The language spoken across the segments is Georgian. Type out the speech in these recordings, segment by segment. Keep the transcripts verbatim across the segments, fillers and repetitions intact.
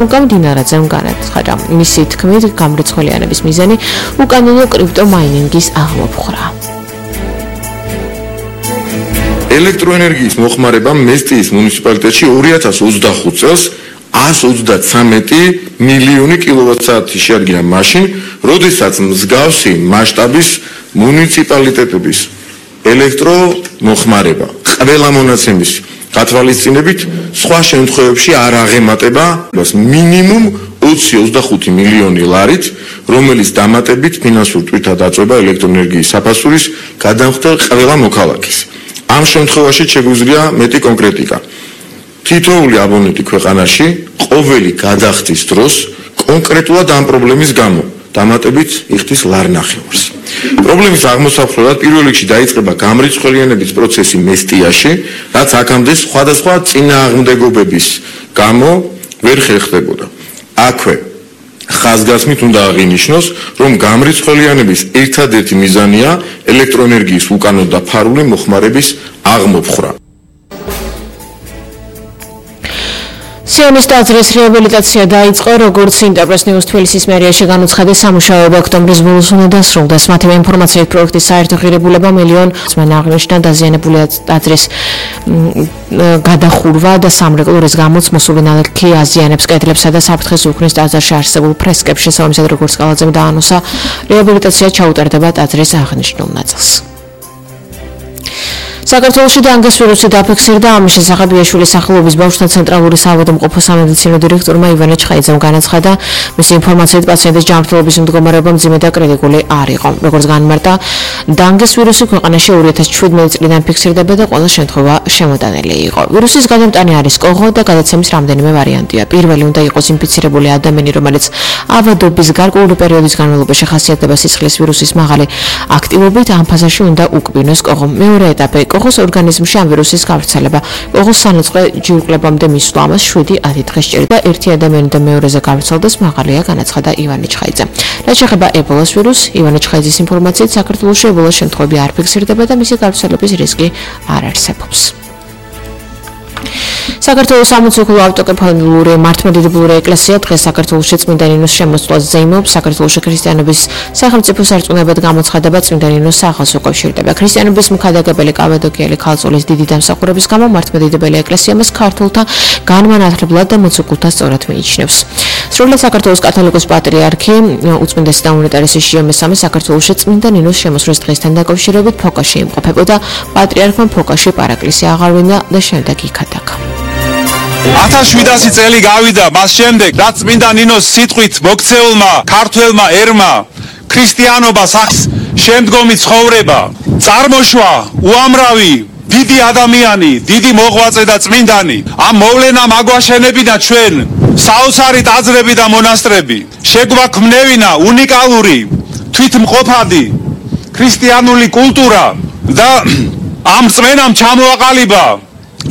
გამდინარაძემ განაცხადა, მისი თქმით, გამრიცხველიანების მიზანი უკანონო კრიპტომაინინგის აღმოფხვრა. ელექტროენერგიის მოხმარებამ მესტიის მუნიციპალიტეტში ორი ათას ოცდახუთ წელს ას ოცდათვრამეტი მილიონი კილოვატ-საათი შეადგინა მაშინ, როდესაც მსგავსი მასშტაბის მუნიციპალიტეტების ელექტრომოხმარება ყველა მონაცემის გათვალისწინებით სხვა შემთხვევებში არ აღემატება მინიმუმ ოცი ოცდახუთი მილიონი ლარით, რომელიც დამატებით ფინანსურ თვითად აწვება ელექტროენერგიის საფასურის გადამხდელ ყველა მოქალაქეს. ამ შემთხვევაში შეგვიძლია მეტი კონკრეტიკა. თითოეული აბონენტი ქვეყანაში ყოველი გადახდის დროს კონკრეტულად ამ პრობლემის გამო დამატებით იხდის ლარნახევარს. პრობლემის აღმოსახვედრად პირველ რიგში დაიწყება გამრიცხველიანების პროცესი მესტიაში, რაც აქამდე სხვადასხვა წინააღმდეგობების გამო ვერ ხერხდებოდა. აქვე ხაზგასმით უნდა აღინიშნოს, რომ გამრიცხველიანების ერთადერთი მიზანია ელექტროენერგიის უკანონო და ფარული მოხმარების აღმოფხვრა. სიონის ტაძრის რეაბილიტაცია დაიწყო, როგორც ინტერპრეს ნიუს თბილისის მერიაში განუცხადეს, სამუშაოები ოქტომბრის ბოლოს უნდა დასრულდეს. მათივე ინფორმაციით, პროექტის საერთო ღირებულება მილიონ წმენა აღნიშნა დაზიანებული ტაძრის გადახურვა და სამრეკლურის გამოც მოსული ნალექი აზიანებს კედლებსა და საფრთხეს უქმნის ტაძარში არსებულ ფრესკებს. შესაბამისად, როგორც კალაძემ დაანონსა, რეაბილიტაცია ჩაუტარდება ტაძრის აღნიშნულ ნაწილს. საქართველოში დანგეს ვირუსი დაფიქსირდა, ამის შესახებ იაშვილის სახელობის ბავშვთა ცენტრალური საავადმყოფო სამედიცინო დირექტორმა ივანე ჩხაიძემ განაცხადა, მისი ინფორმაციით პაციენტის ჯანმრთელობის მდგომარეობა მძიმე და კრიტიკული არ იყო. როგორც განმარტა, დანგეს ვირუსი ქვეყანაში ორი ათას შვიდმეტი წლიდან ფიქსირდება და ყველა შემთხვევა შემოტანილი იყო. ვირუსის გადამტანი არის კოღო და გადაცემის რამდენიმე ვარიანტია. პირველი უნდა იყოს ინფიცირებული ადამიანი, რომელიც ავადობის გარკვეული პერიოდის განმავლობაში ხასიათდება სისხლის ვირუსის მაღალი აქტივობით, ამ ფაზაში უნდა უკბინოს კოღო. მეორე ეტაპი კოღოს ორგანიზმში ამ ვირუსის გავრცელება. კოღოს სანოწყე ჯირკვლებამდე მისვლა ამას შვიდი ათი დღე სჭირდება. ერთი ადამიანი და მეორეზე გავრცელდეს მაღალია, განაცხადა ივანე ჩხაიძე. რაც შეეხება ებოლას ვირუსს, ივანე ჩხაიძის ინფორმაციით, საქართველოში ებოლას შემთხვევები არ ფიქსირდება და მისი გავრცელების რისკი არ არსებობს. საქართველოს სამოციქულო ავტოკეფალური მართლმადიდებლური ეკლესია დღეს საქართველოში წმინდა ნინოს შემოსვლას ზეიმობს. საქართველოში ქრისტიანობის სახელმწიფო სარწმუნოებად გამოცხადება წმინდა ნინოს სახელს უკავშირდება. ქრისტიანობის მქადაგებელი კავადოკიელი ქალწულის დიდი დამსახურების გამო მართლმადიდებელი ეკლესია მას ქართულთა განმანათლებლად და მოციქულთა სწორად მიიჩნევს. სრულად საქართველოს კათოლიკოს პატრიარქი უწმინდესი და უნეტარესი შიო მესამე საქართველოში წმინდა ნინოს შემოსვლის დღესთან დაკავშირებით ფოკაში იმყოფებოდა. პატრიარქმა ფოკაში პარაკლისი აღარვინა და შემდეგ იქადაგა. ათას შვიდასი წელი გავიდა მას შემდეგ, რაც წმინდა ნინოს სიტყვით მოქცეულმა ქართველმა ერმა ქრისტიანობას აქვს შემდგომი ცხოვრება, წარმოშვა უამრავი დიდი ადამიანი, დიდი მოღვაწე და წმინდანი. ამ მოვლენამ აგვაშენებინა ჩვენ საოცარი ტაძრები და მონასტრები. შეგვაქმნევინა უნიკალური თვითმყოფადი ქრისტიანული კულტურა და ამ წმენამ ჩამოაყალიბა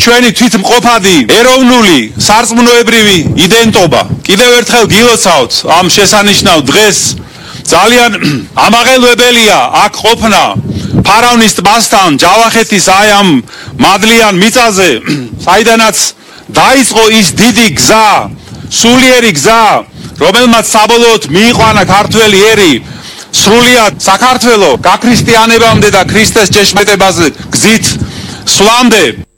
ჩვენი თვითმყოფადი ეროვნული სარწმუნოებრივი იდენტობა. კიდევ ერთხელ გილოცავთ ამ შესანიშნავ დღეს. ძალიან ამაღელვებელია აქ ყოფნა ფარავნის ტბასთან, ჯავახეთის აი ამ მადლიან მიწაზე, საიდანაც დაიწყო ის დიდი გზა, სულიერი გზა, რომელმაც საბოლოოდ მიიყვანა ქართველი ერი სრულიად საქართველოს გაქრისტიანებამდე და ქრისტეს ჭეშმეტებაზე გზით სვლამდე.